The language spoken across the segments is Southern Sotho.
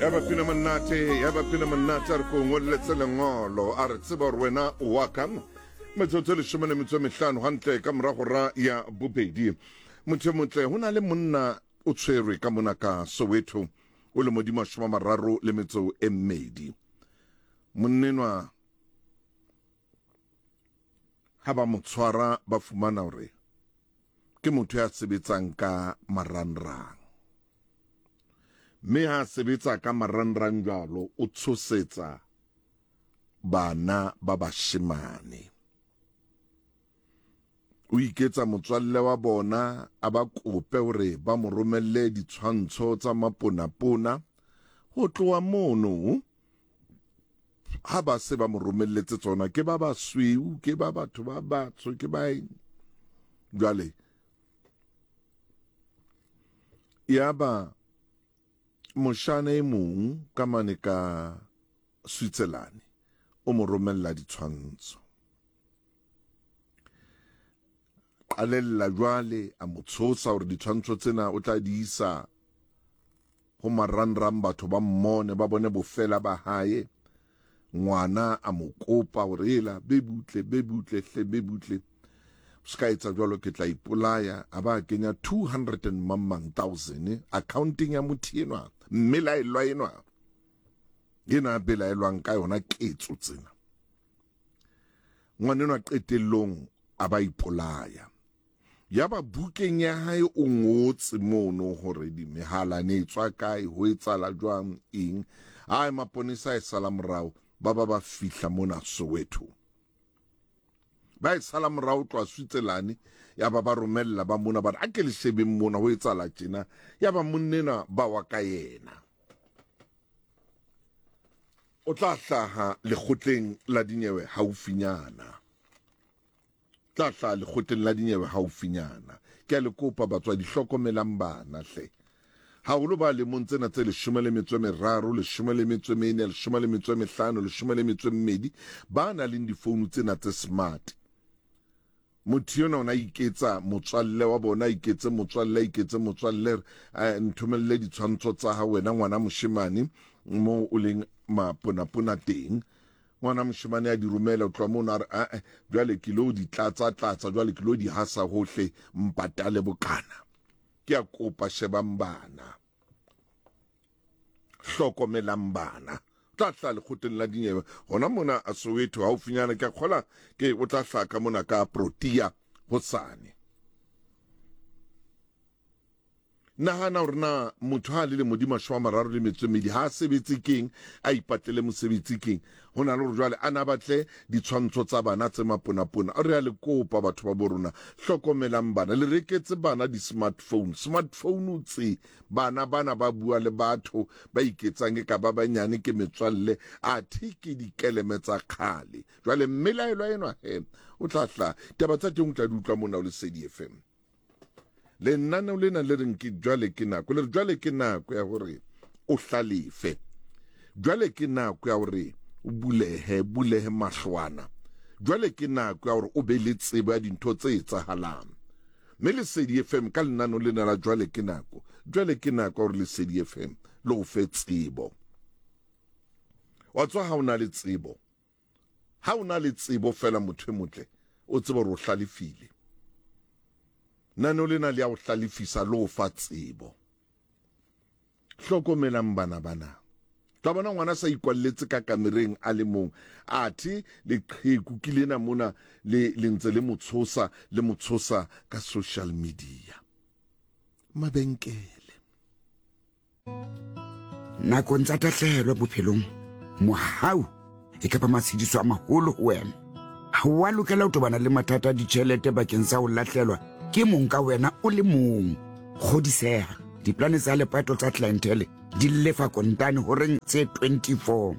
Ya ba pina monate, ya ba pina monate, a re ko ngolletse lengolo, a re tseba gore wena o wa ka. Metsotso e 15 hantle ka morago ra ya bobedi. Motho e motle, ho na le monna o tshwerwe ka mona ka Soweto, o le modimo 32. Monnenwa ha ba mo tshwara ba fumana hore ke motho ya sebetsang ka marangrang, mme ha a sebetsa ka marangrang jwalo o tshosetsa bana ba bashemane, o iketsa motswalle wa bona, a ba kope hore ba mo romelle ditshwantsho tsa maponapona. Ho tloha mono ha ba se ba mo romelletse tsona, ke ba basweu, ke ba batho ba batsho, ke ba eng. Jwale yaba moshana e mong ka mane ka Switzerland o mo romella ditshwantsho. Qalella jwale a mo tshosa hore ditshwantsho tsena o tla di isa ho marangrang, batho ba mmone, ba bone bofela ba hae. Ngwana a mo kopa hore ela be butle, be butle hle, be butle, o se ka etsa jwalo, ke tla ipolaya. A ba kenya 200 and mang thousand accounting ya motho enwa, mmelaellwa enwa, ena a belaelwang ka yona ketso tsena. Ngwanenwa qetellong a ba ipolaya. Yaba bukeng ya hae o ngotse mono hore mehala ne e tswa kae, ho etsahala jwang, eng. Ai, maponesa a e sala morao, ba ba ba fihla mona Soweto. Ba e sala morao tloha Switzerland, yaba ba romella ba mona, ba re, a ke le shebeng mona, ho etsahala tjena. Yaba monnena ba wa ka yena. O tla hlaha lekgotleng la dinyewe haufinyana. Tla hlaha lekgotleng la dinyewe haufinyana. Ke a le kopa batswadi, hlokomelang bana hle. Haholo ba lemong tsena tse 13, 14, 15, 12, ba nang le difounu tsena tse smart. Motho enwa o ne a iketsa motswalle wa bona, a iketse motswalle, a iketse motswalle, eh, nthomelle ditshwantsho tsa hao wena ngwana moshemane moo o leng maponapona teng. Ngwana moshemane a di romela, o tloha mono a re, ae, jwale ke lo di tlatsa tlatsa, jwale ke lo di hasa hohle, mpatale bokana. Ke a kopa, shebang bana, hlokomelang bana. Tla hlaha lekgotleng la dinyewe hona mona a Soweto haufinyana, ke a kgola ke o tla hlaha ka mona ka Protea hosane. Nahana hore na motho ha a le lemo di 32 ha a sebetse keng, a ipatlele mosebetsi keng, ho na le hore jwale a na batle ditshwantsho tsa bana tse maponapona. Re a le kopa batho ba bo rona, hlokomelang bana, le reketse bana di-smartphone. Smartphone tse bana bana ba bua le batho ba iketsang e ka ba banyane ke metswalle, athe ke dikeleme tsa kgale. Jwale mmelaelwa enwa he o tla hlaha, taba tsa teng o tla di utlwa mona ho Lesedi FM. Lenaneo lena le reng ke jwale ke nako, le re jwale ke nako ya hore o hlalefe, jwale ke nako ya hore o bulehe, bulehe mahlwana, jwale ke nako ya hore o be le tsebo ya dintho tse etsahalang. Mme Lesedi FM ka lenaneo lena la jwale ke nako, jwale ke nako ya hore Lesedi FM le o fe tsebo. Wa tswa ha o na le tsebo, Ha o na le tsebo feela, motho e motle, o tsebe hore o hlalefile. Naneo lena le ya o hlalefisa le o fa tsebo. Hlokomelang bana bana. Tla bona ngwana sa ikwalletse ka kamereng a le mong, athe leqheku ke lena mona le le ntse le mo tshosa, le mo tshosa ka social media. Mabenkele. Nakong tsa tahlehelo bophelong, mohau e ka ba matshediso a maholo ho wena. Ha o a lokela ho tobana le mathata a ditjhelete bakeng sa ho lahlelwa ke mong ka wena o le mong. Kgodiseha, diplane tsa lepato tsa Clientele di lefa kontane horeng tse 24.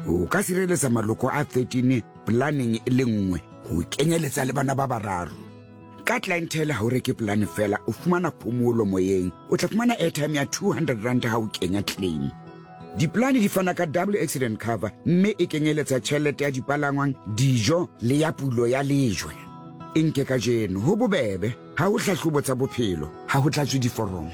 O ka sireletsa maloko a 13 planeng e le nngwe, ho kenyeletsa le bana ba bararo. Ka Clientele ha o reke polane fela, o fumana phomolo moyeng. O tla fumana airtime ya 200 rand ha o kenya claim. Dipolane di fana ka double accident cover mme e kenyeletsa tjhelete ya dipalangwang, dijo le ya pulo ya lejwe. E nke kajeno, ho bobebe, ha ho hlahlobo tsa bophelo, ha ho tlatswe diforomo.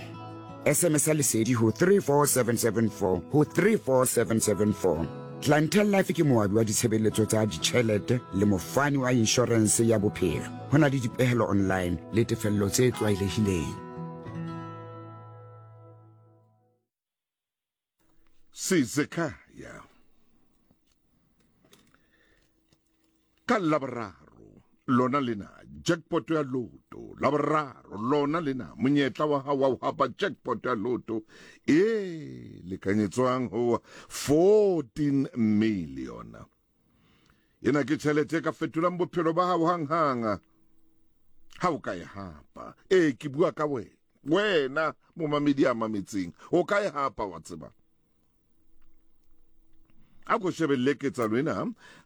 SMS-a Lesedi ho 34774 ho 34774. Clientele Life ke moabi wa ditshebeletso tsa ditjhelete le mofani wa inshorense ya bophelo. Ho na le dipehelo online le tefello tse tlwaelehileng. Sizekhaya ka Laboraro lona lena jackpot ya loto Laboraro lona lena monyetla wa hao wa ho hapa jackpot ya loto e lekanyetswang ho 14 million ena ke tjhelete e ka fetolang bophelo ba hao hang-hang ha o ka e hapa ee ke bua ka wena wena momamedi a mametseng o ka e hapa wa tseba a ko shebelle ketsalo ena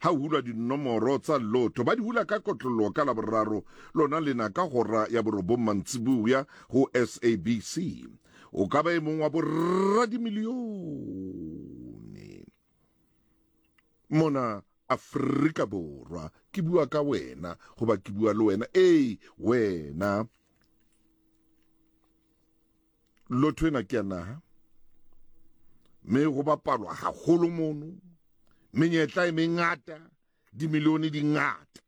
ha o hulwa dinomoro tsa lotho ba di hula ka kotloloho ka laboraro lona lena ka hora ya borobong mantsibuya ho sabc o ka ba e mong wa boradimilione mona Afrika Borwa ke bua ka wena goba ke bua le wena ee wena lotho ena ke ya naha mme go bapalwa haholo mono menyetla e mengata dimilione di ngata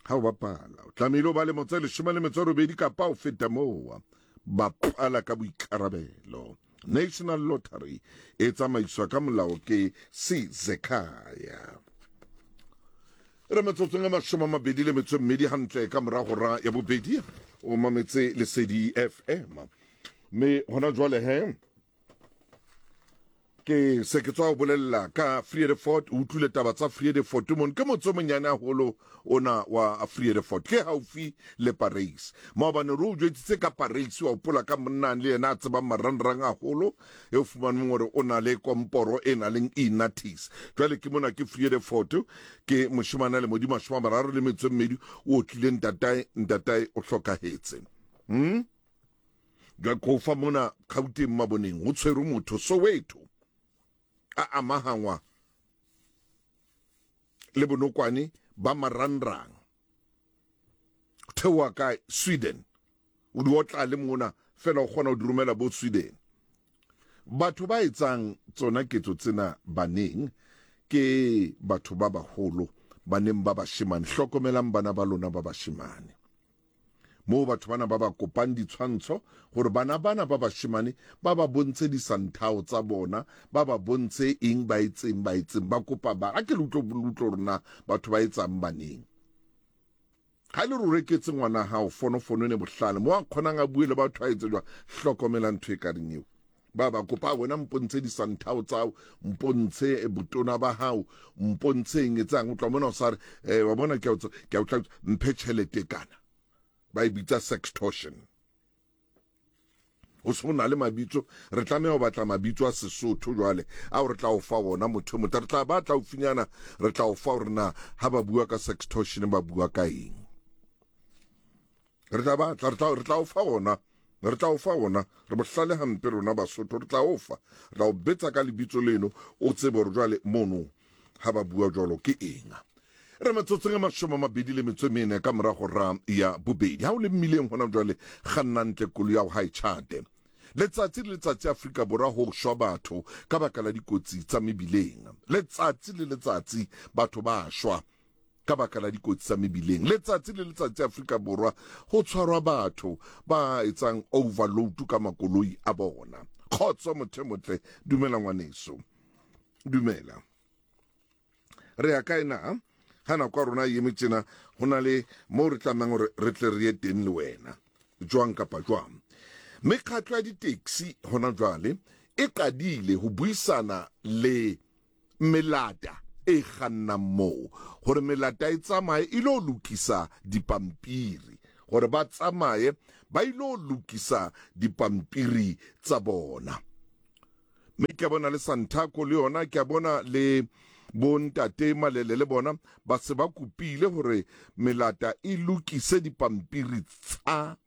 ha o bapala o tlamehile o ba lemo tse 18 kapa o feta moo bapala ka boikarabelo National Lottery e tsamaiswa ka molao ke Sizekhaya re metsotsong e 28 hantle ka mora hora ya bobedi o mametse Lesedi FM mme hona jwale he ke se ke tswa ho bolella ka Vredefort o utlwile taba tsa Vredefort mon ke motse o monyane haholo ona wa Vredefort ke haufi le Paris maobane re o jwetsitse ka Paris wa hopola ka monna le yena a tsebang marangrang haholo e o fumaneng hore o na le komporo e na leng inatis jwale ke mona ke Vredefort ke moshemane a le modi 32 o otlile ntatae ntatae o hlokahetse Jwale ko fa mona Gauteng Maboneng ho tshwerwe motho Soweto a amahangwa le bonokwane ba marangrang theoha kae Sweden o di otla le mona fela o kgona ho di romela bo Sweden batho ba etsang tsona ketso tsena baneng ke batho ba baholo baneng ba bashemane hlokomelang bana ba lona ba bashemane moo batho bana ba ba kopang ditshwantsho gore bana bana ba bashemane ba ba bontshe disanthao tsa bona ba ba bontshe eng ba etseng ba etseng ba kopa ba a ke le utlwe rona batho ba etsang baneng ha le re reketse ngwana hao fonofono ne bohlale mo a kgonang a bue le batho a etse jwang hlokomela ntho e ka reng eo ba ba kopa wena mpontshe disanthao tsao mpontshe botona ba hao mpontshe eng etsang o tla mona o sa re eh, wa bona ke a o tla mphe tšhelete kana ba e bitsa sextortion o se o na le mabitso re tlameha ho batla mabitso a Sesotho jwale ao re tla o fa ona motho motho re tla ba tla o finyana re tla o fa hore na ha ba bua ka sextortion ba bua ka eng re tla batla re tla re tla o fa ona re tla o fa ona re bohlale hampe rona Basotho re tla o fa re tla o betsa ka lebitso leno o tsebe hore jwale mono ha ba bua jwalo ke eng re metsotsong e 24 ka morago ra ya bobedi ha o le mmileng hona jwale kganna ntle koloi ya ho ha e tjhate letsatsi le letsatsi Afrika Borwa ho shwa batho ka baka la dikotsi tsa mebileng letsatsi le letsatsi batho ba shwa ka baka la dikotsi tsa mebileng letsatsi le letsatsi Afrika Borwa ho tshwarwa batho ba etsang overload ka makoloi a bona kgotso motho motle dumela ngwaneso dumela re ya kae na ga nako ya rona e eme tjena go na le moo re tlamehang gore re tle re ye teng le wena jwang kapa jwang mekgatlo ya di-taxi hona jwale e qadile ho buisana le melata e kgannang moo gore melata e tsamaye e lo lokisa dipampiri gore ba tsamaye ba ilo lokisa dipampiri tsa bona mme ke a bona le Santaco le yona ke a bona le bontate Malele le bona ba se ba kopile gore melata e lokise dipampiri tsa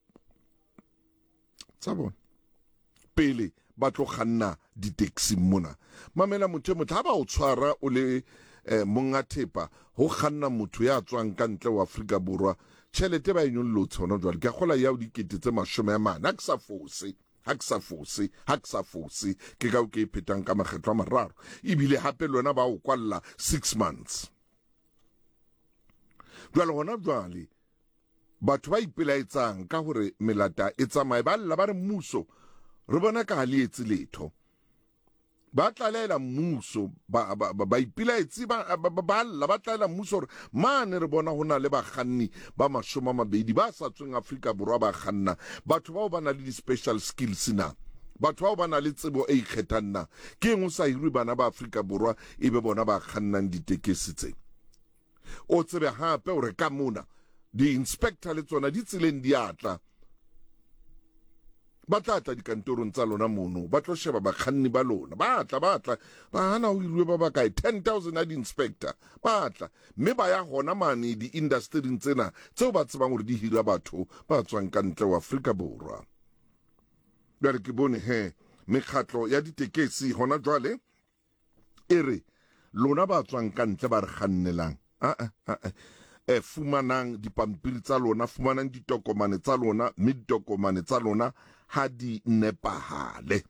tsa bona pele ba tlo kganna di-taxi mona mamela motho e motle ha ba o tshwara o le eh, monga thepa ho kganna motho ya tswang ka ntle wa Afrika Borwa Tjhelete ba e nyollotse hona jwale, ke a kgola ya ho dikete tse 40, ha ke sa fose, ha ke sa fose, ha ke sa fose, ke ka o ke e phetang ka makgetlo a mararo. Ebile hape le wena ba o kwalla six months. Jwale hona jwale batho ba ipelaetsang ka hore melata e tsamaye ba lla ba re mmuso re bona ka ha le etse letho. Ba tlaleela mmuso, ba, ba, ba, baipilaetsi ba, ba, ba, ba lla, ba tlaela mmuso hore mane re bona ho na le bakganni ba 20 ba sa tsweng Afrika Borwa ba kganna. Batho bao ba na le di-special skills na? Batho bao ba na le tsebo e ikgethang na? Ke eng ho sa hirwe bana ba Afrika Borwa e be bona ba kgannang ditekesi tse? O tsebe hape hore ka mona di-inspector le tsona di tseleng di a tla. Ba tla tla dikantorong tsa lona mono, ba tlo sheba bakganni ba lona. Ba tla, ba tla, ba hana ho hiruwe ba bakae? 10,000 a di-inspector. Ba tla, mme ba ya hona mane di-industering tsena tseo ba tsebang hore di hira batho ba tswang ka ntle ho Afrika Borwa. Jwale ke bone he mekgatlo ya ditekesi hona jwale e re lona ba tswang ka ntle ba re kgannelang a a e fumanang dipampiri tsa lona, fumanang ditokomane tsa lona, mme ditokomane tsa lona ha di nepahale,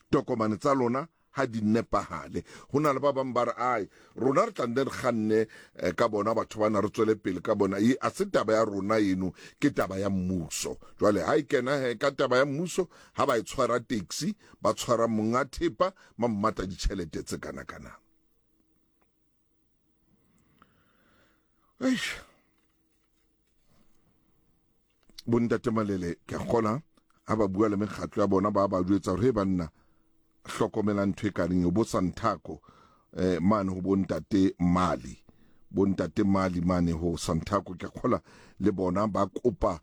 tokomane tsa lona ha di nepahale. Ho na le ba bang ba re ai rona re tla nne re kganne eh, ka bona batho bana re tswele pele ka bona. E a se taba ya rona eno, ke taba ya mmuso. Jwale ha e kena he ka taba ya mmuso, ha ba e tshwara taxi, ba tshwara monga thepa, ba mmata ditjhelete tse kana kana. Eish. Bontate Malele ke a kgola ha ba bua le mekgatlo ya bona ba ba jwetsa hore he banna hlokomelang ntho e kareng eo bo Santhako eh mane ho bontate Mali bontate Mali mane ho Santhako ke a kgola le bona ba kopa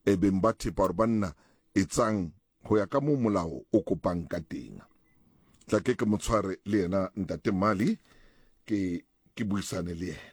e beng ba thepa hore banna etsang ho ya ka moo molao o kopang ka teng. Tla ke ke mo tshware le yena ntate Mali ke ke buisane le yena.